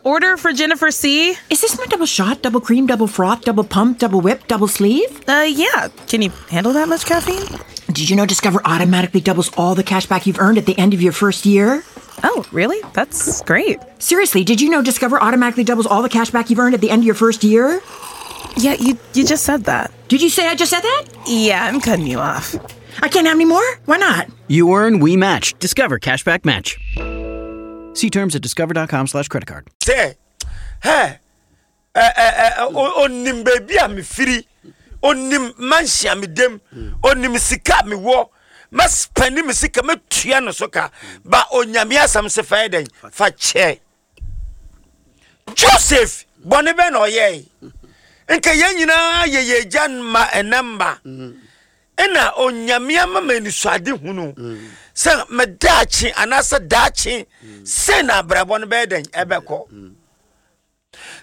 Order for Jennifer C. Is this my double shot, double cream, double froth, double pump, double whip, double sleeve? Yeah. Can you handle that much caffeine? Did you know Discover automatically doubles all the cash back you've earned at the end of your first year? Oh, really? That's great. Seriously, did you know Discover automatically doubles all the cash back you've earned at the end of your first year? Yeah, you just said that. Did you say I just said that? Yeah, I'm cutting you off. I can't have any more? Why not? You earn, we match. Discover Cashback Match. See terms at discover.com/creditcard. Sɛ, hɛ, ɛ, ɛ, ɛ, onim baabi a mefiri, onim mansion a medam, onim sika a mewɔ, mɛspɛne me sika, mɛtua no so ka, ba Onyame asɛm se fa yɛ dɛn? Fa kyɛ. Joseph, bɔne bɛn na ɔyɛe? Nka yɛn nyinaa yɛ yɛn agya mma ɛnɛ mma. Ɛna Onyame ama me anisoade hunu sɛ me daakye anaasɛ daakye sei na abrabɔ no bɛyɛ dɛn ɛbɛkɔ.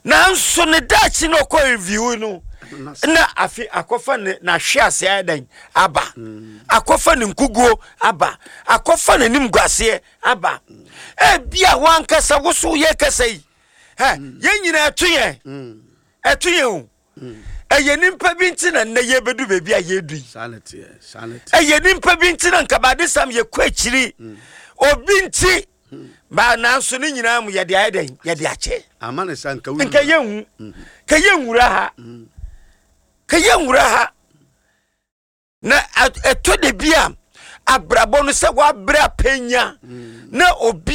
Nanso ne daakye na ɔkɔ review no na afe akɔfa ne n'ahwe ase ayɛ dɛn aba, akɔfa ne nkuguo aba, akɔfa n'anim guaseɛ aba. Ebia wankasa woso yɛ kasa yi, hɛ, yɛn nyinaa ɛto yɛn, ɛto yɛn o. Ɛyɛ nipa bi nti na nnɛ yɛbɛdu baabi a yɛdu yi. Ɛyɛ nipa bi nti na nkabadesam yɛkɔ akyiri. Obi nti ba, nanso ne nyinaa mu yɛde ayɛ dɛn? Yɛde akyɛ. Nka yɛnhu, ka yɛnwura ha, ka yɛnwura ha. Na ɛtɔ da bi a abrabɔ no sɛ wabrɛ apɛnya na obi